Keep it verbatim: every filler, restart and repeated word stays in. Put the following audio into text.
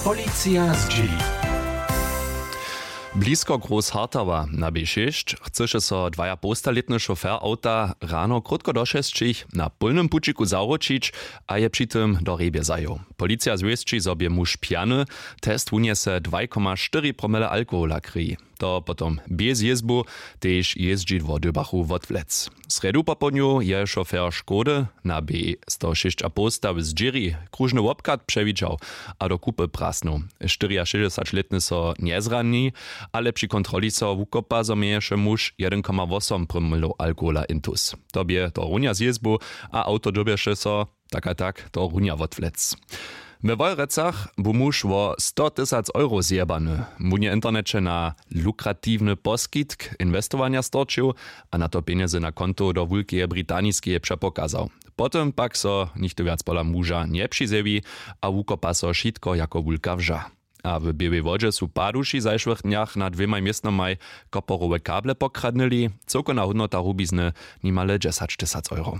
Policija zdźěli. Blisko groß hartawa na b šěsć chcyše so dwajapołstalětny šofer awta rano krótko do šesćich na pólnym pućiku zawróćić a je při tym do hrjebje zajěł. Policija zwěsći zo bě muž pjany. Test wunjese dwaj koma štyri promile alkohola krěji. To potom bjez jězbu. Tež jězdźidło dybachu wotwlec. W srjedu popołdnju je šofer škody na b sto šěsć a poł stawy zdźěri króžny wobchad přewidźał a do kupy prasnył. Štyriašěsćdźesaćlětny so njezrani, ale při kontroli so wukopa zo měješe muž jedyn koma wosom promylow alkohola intus. To bě to runja z jězbu a awto dyrbješe so tak a tak to runja wotwlec. We wojerecach bu muž wo sto tysac euro zjebany. Wón je w interneće na lukratiwny poskitk inwestowanja storčił a na to pjenjezy na konto do wulkeje britaniskeje přepokazał. Potom pak so nichtó wjac pola muža njepřizjewi a wukopa so wšitko jako wulka wža. A w běłej wodźe su paduši w zašłych dnjach na dwěmaj městnomaj koporowe kable pokradnyli. Cyłkowna hódnota rubizny nimale dźesaćtysac euro.